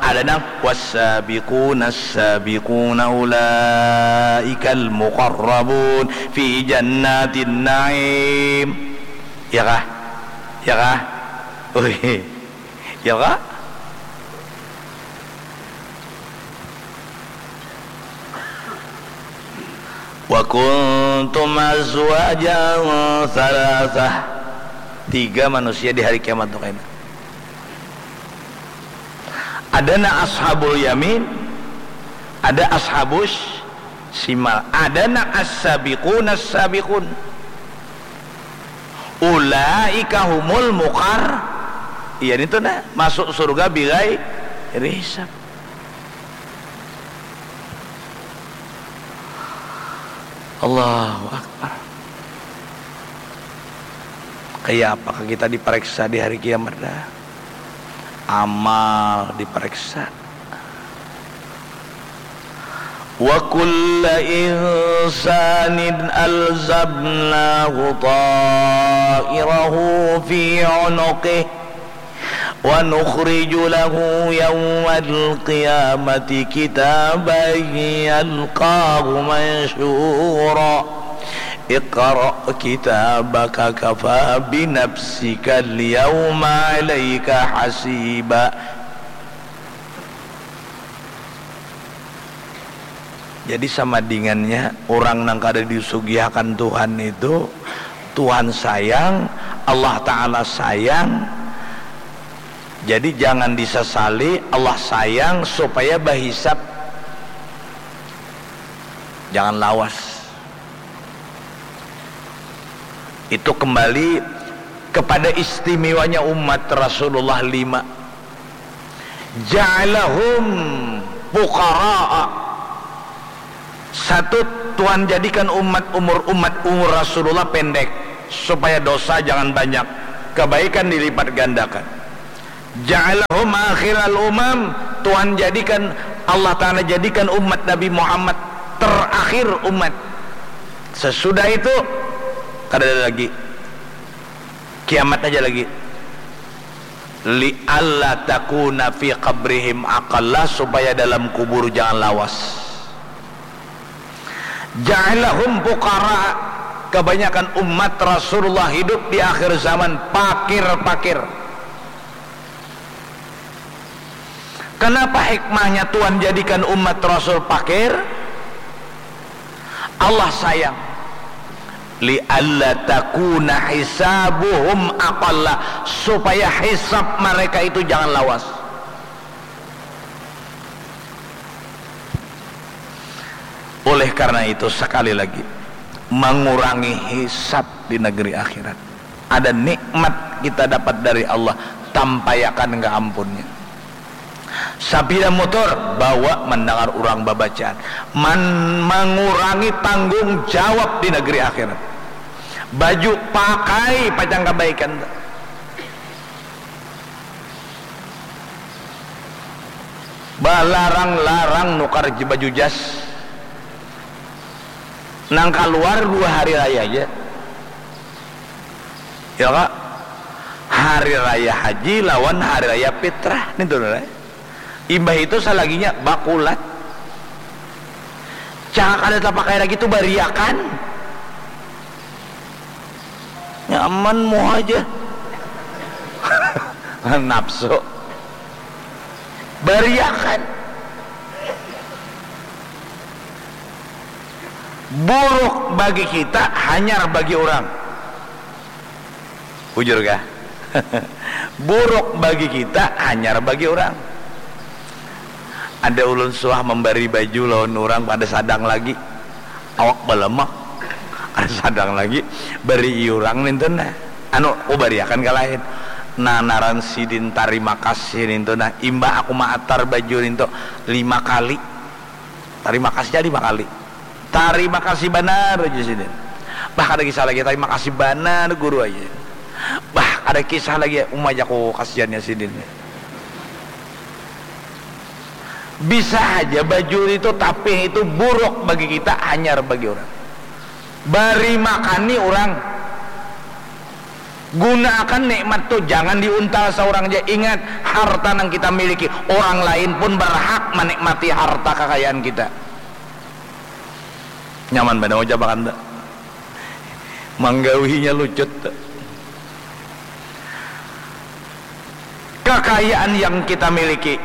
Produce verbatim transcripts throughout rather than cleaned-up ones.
Ada nang, "Wassabiqunas sabiquna ulaikal muqarrabun fi jannatin na'im." Ya kah? Ya kah? Ui. Ya kah? "Wa kuntum azwajan thalathah." Tiga manusia di hari kiamat tu kaina. Ada nang ashabul yamin, ada ashabus simal, ada nang as-sabiqun as-sabiqun. Ulaika humul muqar-, iya nitu nah, masuk surga bigai risab. Allahu Akbar. Kaya apakah kita dipareksa di hari kiamat dah? Amal dipareksa. Wa kulla insanin alzamnahu ta'irahu fi unuqih. Wa nukhriju lahu yaumal qiyamati kitaban yalqahu mansyura. Iqra kitabaka kafa binafsikal yauma alaika hasiba. Jadi sama dingannya urang nang kada disugihakan Tuhan itu, Tuhan sayang, Allah Ta'ala sayang. Jadi jangan disasali, Allah sayang supaya bahisab. Jangan lawas. Itu kembali kepada istimewanya umat Rasulullah lima. Ja'alahum fuqara'a. Satu, Tuhan jadikan umat umur, umat umur Rasulullah pendek, supaya dosa jangan banyak, kebaikan dilipat gandakan. Ja'alahum akhiral umam, Tuhan jadikan, Allah Ta'ala jadikan umat Nabi Muhammad terakhir umat. Sesudah itu, kada ada lagi. Kiamat aja lagi. Li'alla takuna fi qabrihim aqalla, supaya dalam kubur jangan lawas. Ja'alahum fuqara, kebanyakan umat Rasulullah hidup di akhir zaman pakir-pakir. Kenapa hikmahnya Tuhan jadikan umat Rasul pakir? Allah sayang. Li'alla takuna hisabuhum aqalla, supaya hisab mereka itu jangan lawas. Oleh karena itu, sekali lagi, mengurangi hisab di negeri akhirat. Ada nikmat kita dapat dari Allah, tampayakan ka ampunnya. Sapida motor, bawa mendengar urang babacaan. Man-, mengurangi tanggung jawab di negeri akhirat. Baju pakai pacang kabaikan. Balarang-larang nukar je-, baju jas. Nang kaluar dua hari raya aja. Ya, Kak? Hari raya haji lawan hari raya fitrah. Nih tuh, Rai. Imbah itu salaginya bakulat. Caka kada tapakai lagi tuh bariakan. Nyaman muha aja. Nafsu. Bariakan. Buruk bagi kita, hanyar bagi orang. Bujur kah? Buruk bagi kita, hanyar bagi orang. Ada ulun suah membari baju lawan orang, kada sadang lagi. Awak balemak. Kada sadang lagi. Bari urang nintu nah. Anu, ku bariakan ka lain. Nah, naran sidin tarima kasih nintu nah. Imbah aku maatar baju nintu lima kali. Tarima kasihnya lima kali. Tarima kasih banar aja sidin. Bah, kada kisah lagi, tarima kasih banar guru aja. Bah, kada kisah lagi, uma ja ku kasiannya sidin. Bisa haja bajul itu, tapih itu buruk bagi kita, hanyar bagi orang. Bari makani orang. Gunaakan nikmat tu, jangan diuntal saurang ja. Ingat, harta nang kita miliki, orang lain pun berhak manikmati harta kakayaan kita. Nyaman banar ucapakan tu. Manggawinya lucut tu. Kakayaan yang kita miliki,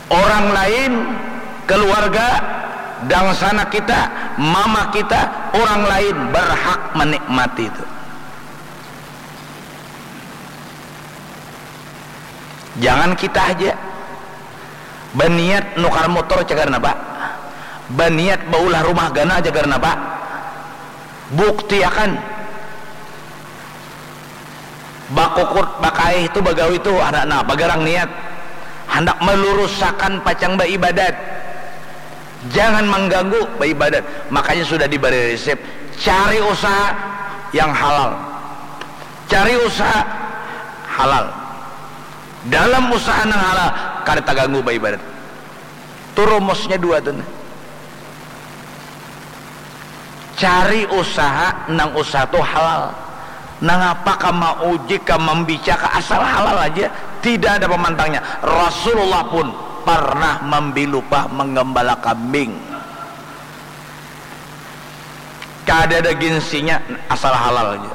orang lain, keluarga, dangsanak kita, mama kita, orang lain berhak menikmati itu. Jangan kita aja. Baniat nukar motor cagar napa? Baniat baulah rumah ganal cagar napa? Buktiakan. Bakukut, bakaih tu, bagawi tu, anak nah, bagarang niat. Handak melurusakan pacang baibadat. Jangan mengganggu baibadat. Makanya sudah diberi resep, cari usaha yang halal. Cari usaha halal. Dalam usaha nang halal, kada taganggu baibadat. Tu rumusnya dua tu nah. Cari usaha nang usaha tu halal. Nangapa ka mauji, ka mambica, ka asal halal aja, tidak ada pamantangnya. Rasulullah pun pernah mambi lupah manggambala kambing. Kada ada gengsinya, asal halal aja.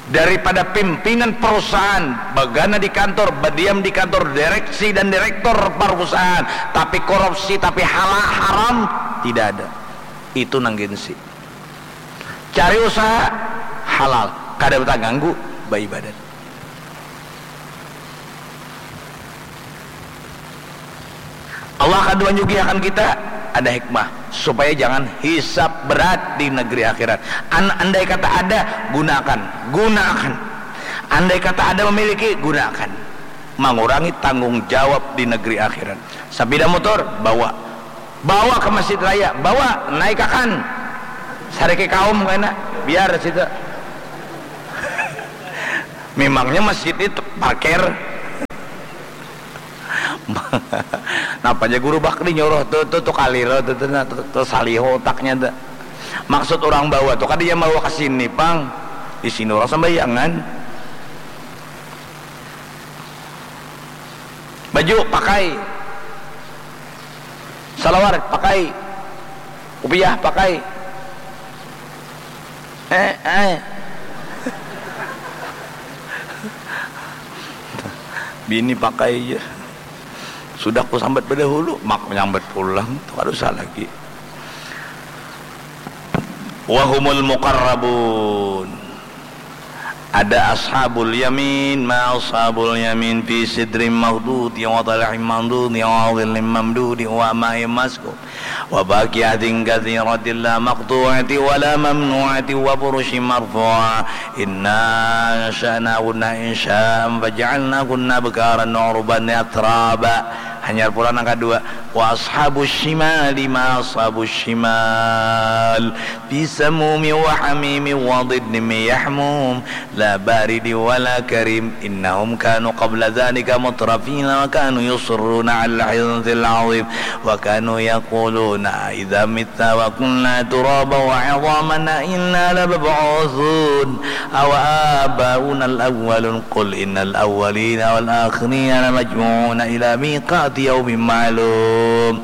Daripada pimpinan perusahaan, bagana di kantor, badiam di kantor direksi dan direktur perusahaan, tapi korupsi, tapi hala-, haram, tidak ada. Itu nang gengsi. Cari usaha halal, kada bataganggu baibadat. Allah kada manyugihakan kita, ada hikmah supaya jangan hisab berat di negeri akhirat. An-, andai kata ada, gunakan, gunakan. Andai kata ada memiliki, gunakan. Mangurangi tanggung jawab di negeri akhirat. Sapida motor, bawa. Bawa ke masjid raya, bawa, naikakan. Sariki kaum kena, biar situ. Memangnya masjid itu parkir? Napa aja guru bakri nyuruh tu, tu, tu kaliro tu, tu, nah, tu, tu saliho otaknya tu. Maksud orang bawa tu kada yang bawa ke sini pang, di sini orang sambayangan. Baju pakai, salawar pakai, kupiah pakai. Eh, eh. Bini pakai ja. Sudah ku sambat badahulu, mak nyambat pulang, tu kada usah lagi. Wahumul muqarrabun. Ada ashabul yamin, ma ashabul yamin, fi sidrin makhdud, wa talahim mamdud, wa dhillim mamdud, wa ma'in maskub. Wa fakihatin katsiratin la maqtu'atin wa la mamnu'atin wa furushim marfu'ah. Inna ansha'nahunna insha'an faja'alnahunna abkaran wa urban atraba. Hanyar pulang nang kadua. Wa ashabus shimali ma ashabus shimal. Fi samumin wa hamimin wa dhillin min yahmum. La baridin wa la karim. Innahum kanu qabla dhalika mutrafina wa kanu yusirruna alal hinthil azim. Wa kanu yaquluna aidha mitna wa kunna turaban wa idhaman a inna lamab'uthun aw aba'unal awwalun. Qul innal awwalina wal akhirina lamajmu'una ila miqati yaumin ma'lum.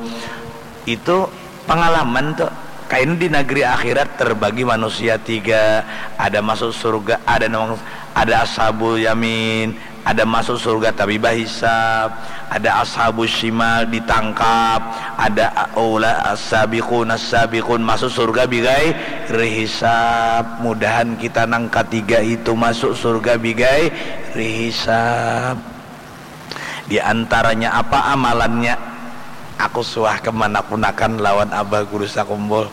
Itu pangalaman tu. Kaina di nagri akhirat terbagi manusia tiga, ada masuk surga, ada nang, ada ashabul yamin, ada masuk surga tapi bahisab, ada ashabus shimal ditangkap, ada ula as-sabiqun as-sabiqun masuk surga bigairi hisab. Mudahan kita nang katiga itu masuk surga bigairi hisab. Di antaranya apa amalannya? Aku suah kemanakunakan lawan Abah Guru Sakumbul.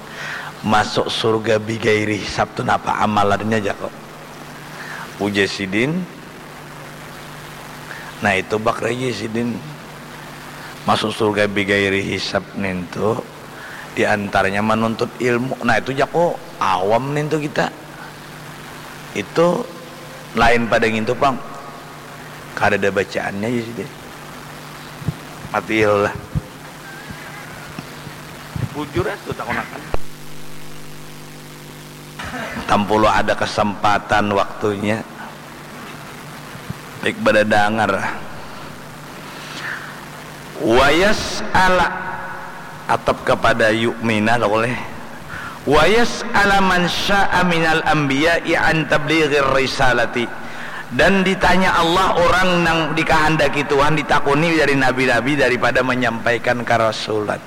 Masuk surga bigairi hisab tu napa amalannya, jako? Ujar sidin, nah itu bak raja sidin. Masuk surga bigairi hisab nintu di antaranya manuntut ilmu. Nah itu jako awam nintu kita. Itu lain pada ngintu pang. Kadada bacaannya ja sidin. Mati lah. Bujur atuh takunakan. Tampulu ada kesempatan waktunya. Baik badadangar. Wayas ala atap kepada yu'mina lah boleh. Wayas ala man sya'a minal anbiya'i an tablighir risalati. Dan ditanya Allah orang nang dikahandaki Tuhan ditakuni dari nabi-nabi daripada menyampaikan karasulan.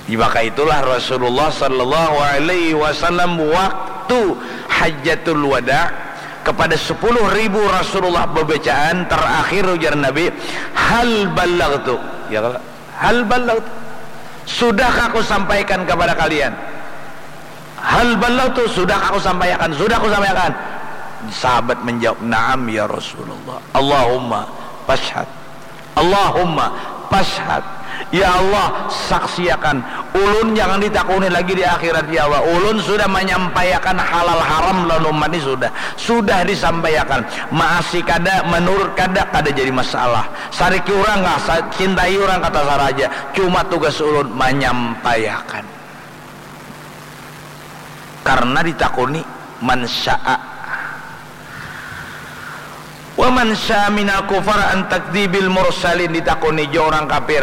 Maka itulah Rasulullah sallallahu alaihi wasallam waktu Hajjatul Wada kepada sepuluh ribu Rasulullah bebecaan terakhir ujar Nabi, "Hal ballagtu?" Ya kalau, "Hal ballagtu? Sudahkah aku sampaikan kepada kalian?" "Hal ballagtu? Sudahkah aku sampaikan?" "Sudah aku sampaikan." Sahabat menjawab, "Na'am ya Rasulullah." "Allahumma fashhad." Allahumma fashhad. Ya Allah, saksiakan. Ulun jangan ditakuni lagi di akhirat, ya Allah. Ulun sudah menyampaikan halal haram lawan umat ni sudah. Sudah disampaikan. Maasi kada, menurut kada, kada jadi masalah. Sariki urang kah, sa-, cintai urang kata saraja. Cuma tugas ulun menyampaikan. Karena ditakuni man syaa. Wa man syaa minal kufar an takdzibil mursalin, ditakuni jua orang kafir.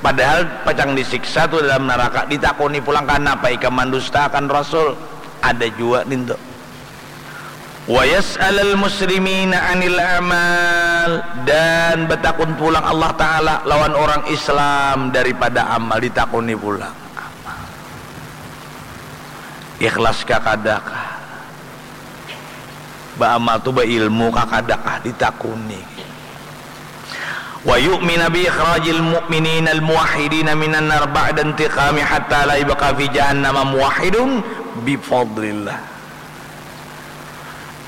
Padahal pacang disiksa tu dalam neraka, ditakuni pulang kanapa ikam mandustakan Rasul. Ada jua nintu. Wa yas'alal muslimina anil amal, dan batakun pulang Allah Ta'ala lawan orang Islam daripada amal, ditakuni pulang. Ikhlas kah kada kah? Baamal tu bailmu kah kada kah ditakuni. Wa yu'mina bi ikhrajil mu'minina al muwahhidina minan nar ba'da intiqami hatta la yabqa fi jahannama muwahhidun bi fadlillah.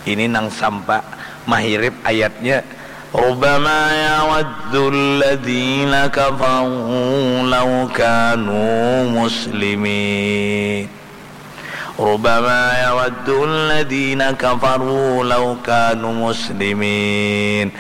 Ini nang sampa mahirip ayatnya, "Rubama yawaddul ladzina kafaru law kanu muslimin." Rubama yawaddul ladzina kafaru law kanu muslimin.